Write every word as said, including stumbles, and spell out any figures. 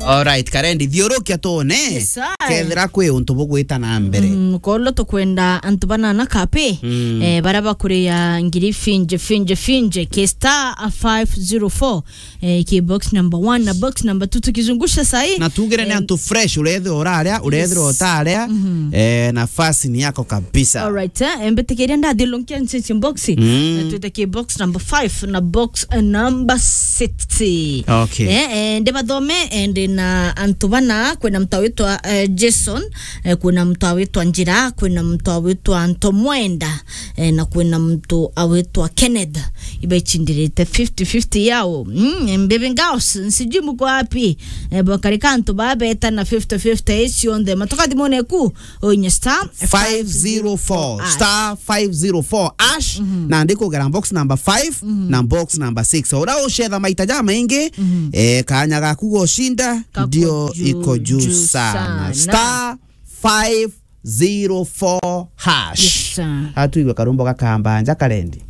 Alright, Karendi, thiurukia tuone. Yes, sir. Kethira kwi untu bugwita na mbere. Mm, kolo tukwenda antu banana kapi, mm, eh, bara bakuria ngiri finje, finje, finje, ki star five zero four, eh, ki box number one na box number two tukizungusha sahi. Na tugire ni, eh, antu fresh, urethirwa uraria, urethirwa, yes, utaria, mm-hmm, eh, nafasi ni yako kabisa. Alright, eh, mbitikiria ndathilunkia nchichi box. Mm. Eh, twite ki box number five na box, eh, number six. Okay. Eh, eh, ndibathome, eh, ndi na antu bana, kwina mtu awitwa, eh, Jason, eh, kwina mtu awitwa Njira, kwina mtu awitwa Ntomwenda, eh, na kwina mtu awitwa Kenneth. Ibechindirite fifty fifty yao. Mm, Mbibi Girls, nsijui muko wapi? Eh, bokarika antu babeta na fifty fifty icio nthe. Matoka thimone ku, oinye star five zero four, star five zero four hash, mhm, na ndikugera box number five, mhm, na box number six. Ura ucetha maita ja maingi, mhm, eh, kanya gaku gushinda, kako ndio juu, iko juu juu sana. Sana. Star five zero four hash. Yes, sir. Atuigwe karumbo gakamba nja Karendi.